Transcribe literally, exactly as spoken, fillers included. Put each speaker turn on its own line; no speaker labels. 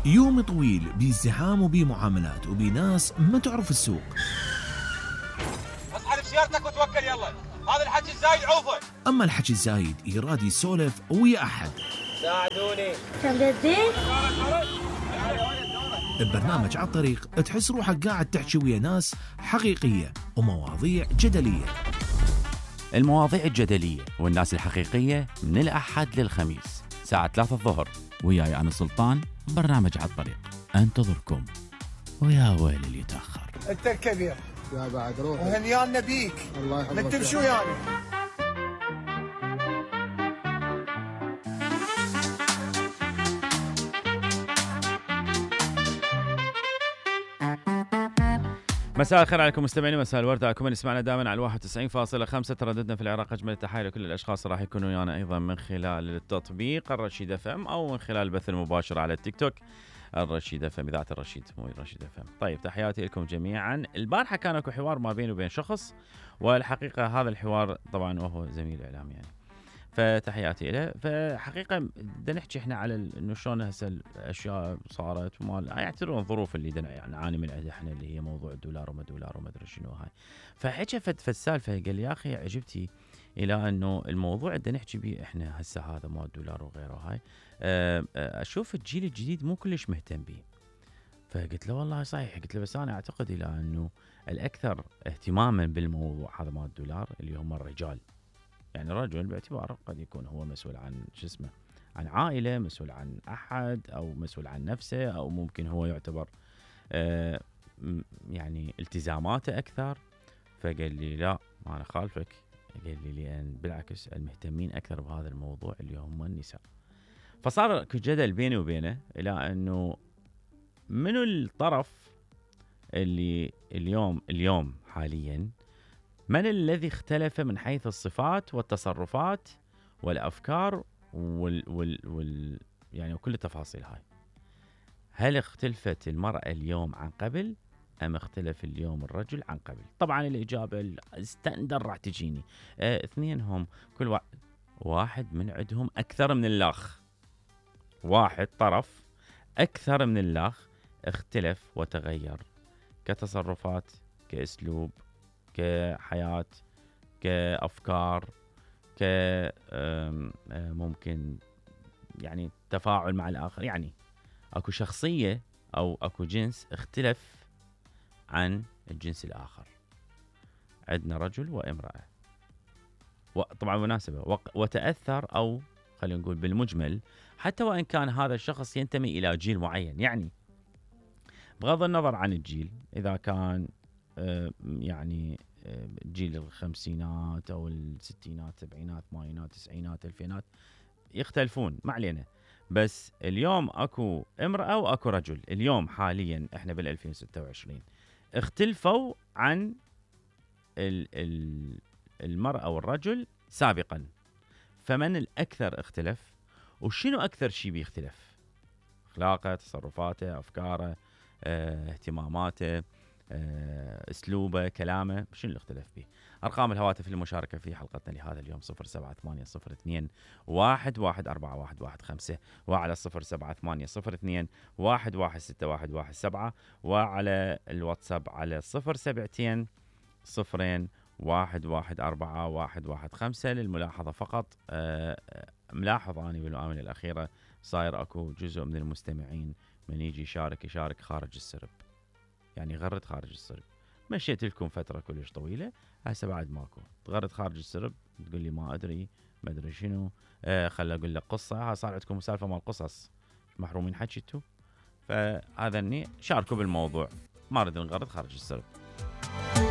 يوم طويل بازدحام وبمعاملات وبناس ما تعرف السوق.
اصحى بسيارتك وتوكل يلا، هذا الحكي الزايد عوفه.
اما الحكي الزايد يراد يسولف ويا احد.
ساعدوني.
تمددين؟
ببرنامج على الطريق تحس روحك قاعد تحكي ويا ناس حقيقية ومواضيع جدلية.
المواضيع الجدلية والناس الحقيقية من الأحد للخميس ساعة ثلاثة الظهر، وياي أنا سلطان. برنامج على الطريق انتظركم، ويا ويل اللي يتأخر.
انت الكبير
يا بعد روح
وهنيانا بيك.
الله يحفظك.
نكتب شو يعني؟
مساء الخير عليكم مستمعين، مساء الورد عليكم من يسمعنا دائما على واحد وتسعين فاصلة خمسة. ترددنا في العراق. اجمل التحايا لكل الاشخاص راح يكونوا ويانا ايضا من خلال التطبيق الرشيد اف ام او من خلال البث المباشر على التيك توك الرشيد اف ام، اذاعه الرشيد مو الرشيد اف ام. طيب تحياتي لكم جميعا. البارحه كان اكو حوار ما بيني وبين شخص، والحقيقه هذا الحوار طبعا وهو زميل اعلام يعني، فتحياتي له. فحقيقه بدنا نحكي احنا على انه شلون هسه الاشياء صارت وما يعتبرون الظروف اللي دنا يعني نعاني من عندها احنا، اللي هي موضوع الدولار وما دولار وما ادري شنو هاي. فحكى فد فالسالفه قال لي يا اخي عجبتي الى انه الموضوع اللي نحكي به احنا هسه هذا مال الدولار وغيره هاي، اشوف الجيل الجديد مو كلش مهتم به. فقلت له والله صحيح، قلت له بس انا اعتقد الى انه الاكثر اهتماما بالموضوع هذا مال الدولار اللي هم الرجال. يعني الرجل باعتباره قد يكون هو مسؤول عن شو اسمه، عن عائله، مسؤول عن احد، او مسؤول عن نفسه، او ممكن هو يعتبر آه يعني التزاماته اكثر. فقال لي لا ما انا خالفك، قال لي لان بالعكس المهتمين اكثر بهذا الموضوع اللي هم النساء. فصار جدل بيني وبينه الى انه منو الطرف اللي اليوم اليوم حاليا من الذي اختلف من حيث الصفات والتصرفات والافكار وال وال وال يعني وكل التفاصيل هاي. هل اختلفت المرأة اليوم عن قبل ام اختلف اليوم الرجل عن قبل؟ طبعا الاجابة الستاندر راح تجيني اه اثنين هم كل واحد واحد من عندهم اكثر من الاخ، واحد طرف اكثر من الاخ اختلف وتغير كتصرفات، كاسلوب، كحياة، كأفكار، ك ممكن يعني تفاعل مع الآخر. يعني أكو شخصية أو أكو جنس اختلف عن الجنس الآخر. عندنا رجل وامرأة، وطبعا مناسبة وتأثر، أو خلينا نقول بالمجمل حتى وإن كان هذا الشخص ينتمي إلى جيل معين، يعني بغض النظر عن الجيل، إذا كان يعني جيل الخمسينات او الستينات سبعينات ثمانينات تسعينات الفينات يختلفون ما علينا. بس اليوم اكو امرأة واكو رجل، اليوم حاليا احنا بال ألفين وستة وعشرين اختلفوا عن المرأة والرجل سابقا. فمن الاكثر اختلف وشنو اكثر شيء بيختلف؟ اخلاقه، تصرفاته، افكاره، اه، اهتماماته، اسلوبه، كلامه، شنو اللي اختلف به؟ ارقام الهواتف للمشاركه في حلقتنا لهذا اليوم صفر سبعة ثمانية صفر اثنين واحد واحد أربعة واحد واحد خمسة، وعلى صفر سبعة ثمانية صفر اثنين واحد واحد ستة واحد واحد سبعة، وعلى الواتساب على صفر سبعتين صفرين واحد واحد أربعة واحد واحد خمسة. للملاحظه فقط، ملاحظ اني بالآونة الاخيره صاير اكو جزء من المستمعين من يجي يشارك يشارك خارج السرب، يعني غرد خارج السرب. مشيت لكم فترة كلش طويلة، هسه بعد ماكو تغرد خارج السرب، تقول لي ما أدري ما أدري شنو، آه خل أقول لك قصة. ها صار عندكم سالفة مال قصص، محرومين حكيتوا. فهذا اني شاركوا بالموضوع، ما أريد نغرد خارج السرب.